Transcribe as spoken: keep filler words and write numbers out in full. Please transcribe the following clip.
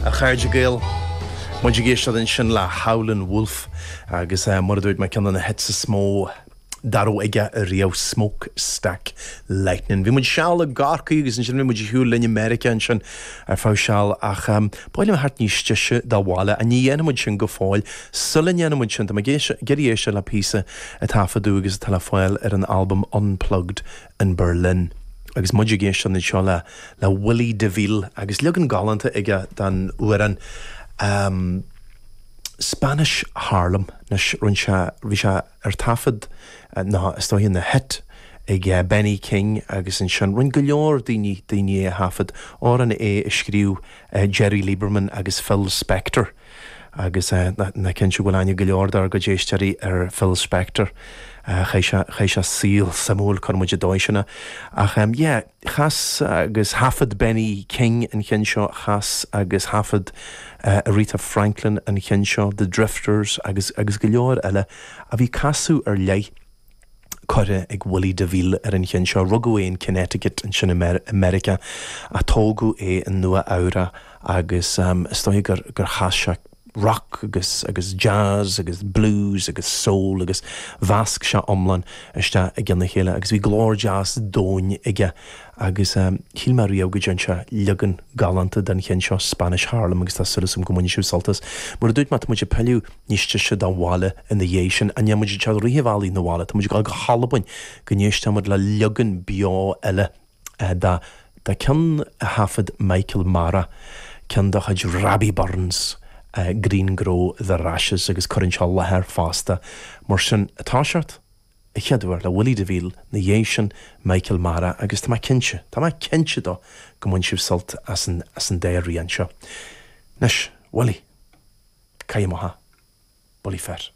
A chairde Gael, muid ag éisteacht ansin le Howlin' Wolf agus eh, mar a dúirt mé ceann de na hits is mó dá raibh aige riamh Smokestack Lightning. Bhí muid seal i gCorcaigh agus ansin bhí muid ar shiúl linn i Meiriceá ansin ar feadh seal ach um, b'áil liom theacht níos deise dá bhaile a ní dhéanfaidh muid sin go fóill sula ndéanfaidh muid sin tá géirí éiste le píosa a taifeadadh agus atá le fáil ar an albam Unplugged in Berlin. Agus muid ag éisteacht anseo le le Willie DeVille agus leagan galánta aige den amhrán um, Spanish Harlem anois rinne sé bhí sé ar taifead ná is dóigh ina hit ag uh, Benny King agus ansin rinne go leor daoine daoine a thaifead amhrán é a scríobh uh, Jerry Lieberman agus Phil Spector. agus uh, na, na cinnte bhfuil aithne go leor dár gcuid éisteoirí ar Phil Spector. Uh, Chaith sé saol suimiúil chun muid dóisina. Ach um, yeah, chas agus thaifead Benny King an ceann seo chas agus thaifead uh, Aretha Franklin an ceann seo, The Drifters agus agus go leor eile a bhí casadh ar leith curtha ag Willie DeVille ar an cheann seo rugadh é in Connecticut ansin America a tógadh é in Nua-Eabhrac agus um, is dóigh gur gur chas sé rock agus agus jazz agus blues agus soul agus mheasc sé iomlán isteach i gceann a chéile agus bhí glór deas domhain aige agus um, shíl mé riamh go dtearn sé leagan galánta den cheann seo Spanish Harlem agus tá súil agam go mbainfidh sibh sult as. Mar a dúirt mé muid ag pilleadh níos deise dá bhaile ina dhiaidh sin an muid te riomhálí na bhaile, Tá muid go hAlbain go n-éistfimid le leagan beo eile uh, da da ceann a thaifead Michael Mara ceann de chuid Robbie Burns. Uh, Green Grow the Rashes agus cuireann sé láthair fosta mar sin atá seart a cheadúir le Willie DeVille ina dhiaidh sin Michael Mara agus tá cinnte Tá mé cinnte dó go mbainfidh sibh sult as an as an dá rian seo. Anois Willie Caiimtha Bully Fer.